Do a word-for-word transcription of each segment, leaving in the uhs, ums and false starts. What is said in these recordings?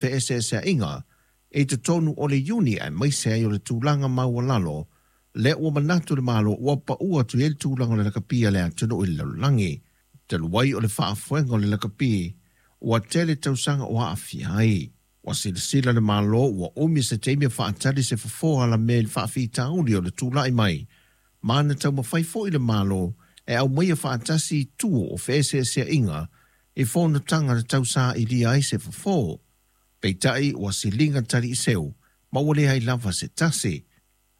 Feeseeseaiga i totonu o le Iuni aemaise ai o le tulaga maualalo lea ua manatu le Malo ua paua atu i ai le tulaga o le lakapi a le atunuu i le lalolagi. Talu ai o le faafoega o le lakapi ua tele tausaga o aafia ai. Ua silasila le Malo ua umi se taimi e faatali se fofo alamea i le faafitauli o le tulai mai, ma na taumafai foi le Malo e aumaia faatasi itu o feeseeseaiga i fonotaga na tausailia ai se fofo. Peitai ua siliga taliiseu ma ua leai lava se tasi.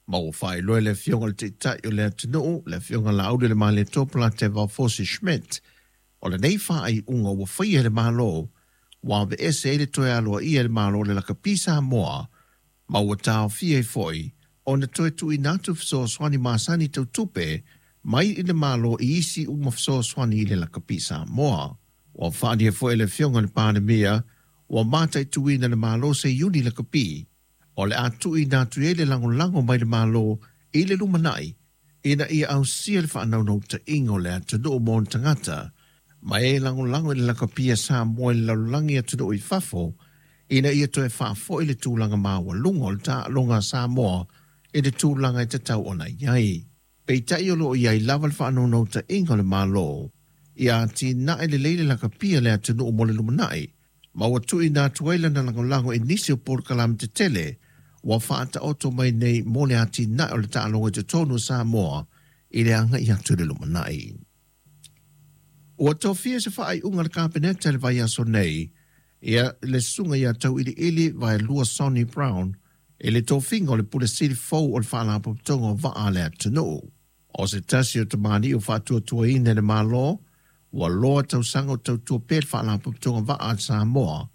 Ma ua faailoa le afioga i le Taitai o le atunuu, le afioga Laaulialemalietoa Polataivao Fosi Schmidt, o lenei faaiuga ua faia e le Malo ua aveese ai le toe aloaia e le Malo o le lakapi Samoa ma ua taofia ai foi ona toe tuuina atu fesoasoani masani tau tupe mai i le Malo i isi uma fesoasoani i le lakapi Samoa. Ua faaalia foi e le afioga i le Palemia ua mataituina le Malo se iuni lakapi o le a tuuina atu ai le lagolago mai le Malo i le lumanai ina ia ausia le faanaunautaiga o le atunuu mo ona tagata ma e lagolago i le lakapi a Samoa i le lalolagi atunuu i fafo ina ia toe faafoi le tulaga maualuga o le taaloga a Samoa i le tulaga e tatau ona i ai. Peitai o loo i ai lava le faanaunautaiga o le Malo ia atinae lelei le lakapi a le atunuu mo le lumanai ma ua tuuina atu ai lana lagolago i nisi o polokalame tetele ua faataoto mai nei mo le atinae o le taaloga i totonu o Samoa i le agai atu i le lumanai. Ua tofia se faaiuga a le Kapeneta i le vaiaso nei ia le susuga ia Tauiliili Vaelua Sonny Brown i le tofiga o le Pule Sili fou o le Faalapotopotoga o Vaa a le atunuu. O se tasi o tamalii o faatuatuaina e le Malo ua loa tausaga o tautua pea le Faalapotopotoga Vaa a Samoa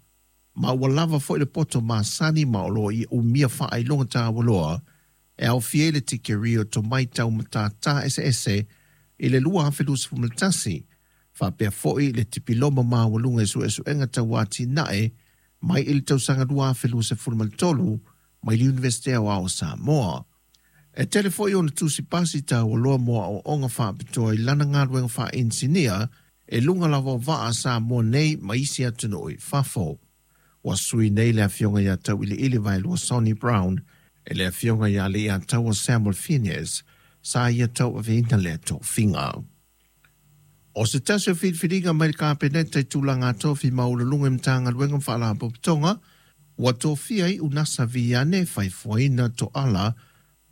ma ua lava foi le poto masani ma o loo ia umia faailoga taualoa e aofia ai le tikeri o tomai tau matata eseese i le lua afe luasefulu ma tasi, faapea foi le tipiloma maualuga i suesuega tau atinae mai i le tausaga lua afe luasefulu ma le tolu mai le Iunivesite Aoao o Samoa. E tele foi ona tusi pasi taualoa mo aoaoga faapitoa i lana galuega faainisinia e luga lava o vaa a Samoa nei ma isi atunuu i fafo. Ua sui nei le afioga ia Tauiliili Vaelua Sonny Brown e le afioga ia Leiataua Samuel Phineas sa ia tauaveina lea tofiga. O se tasi o filifiliga mai le Kapeneta i tulaga tofi maualuluga i Matagaluega ma Faalapotopotoga ua tofia ai Unasa Viane Faifuaina Toala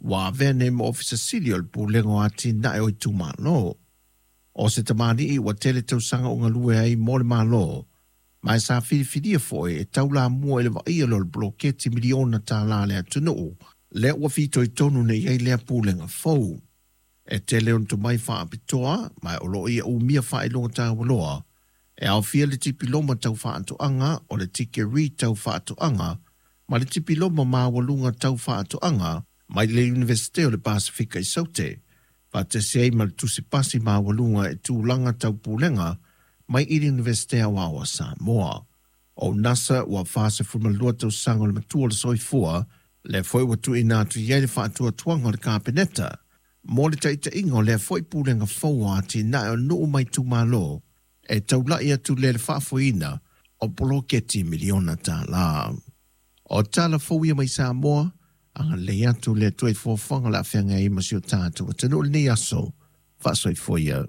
ua avea nei ma Ofisa Sili o le Pulega o Atinae o Itumalo. O se tamalii ua tele tausaga o galue ai mo le Malo, ma e sa filifilia foi e taulamua i le vaaia lea o le poloketi miliona tālā a le atunuu, lea ua fitoitonu nei ai lea pulega fou. E tele ona tomai faapitoa, ma o loo ia umia faailoga taualoa, e aofia le tipiloma tau faatoaga o le tikeri tau faatoaga ma le tipiloma maualuga tau faatoaga mai le Iunivesite o le Pasifika i Saute, faatasi ai ma le tusipasi maualuga e tulaga tau pulega mai i le Iunivesite Aoao a Samoa. O Nasa ua fasefulu ma lua tausaga o le matua o le soifua, lea foi ua tuuina atu i ai le faatuatuaga o le Kapeneta mo le taitaiga o lea foi pulega fou o atinae o nuu ma itumalo e taulai atu lea le faafoeina o poloketi miliona tālā. O tala fou ia mai Samoa, agalelei atu le Atua i fuafuaga o le a feagai ai ma si o tatou atunuu i lenei aso. Faasoifua ia.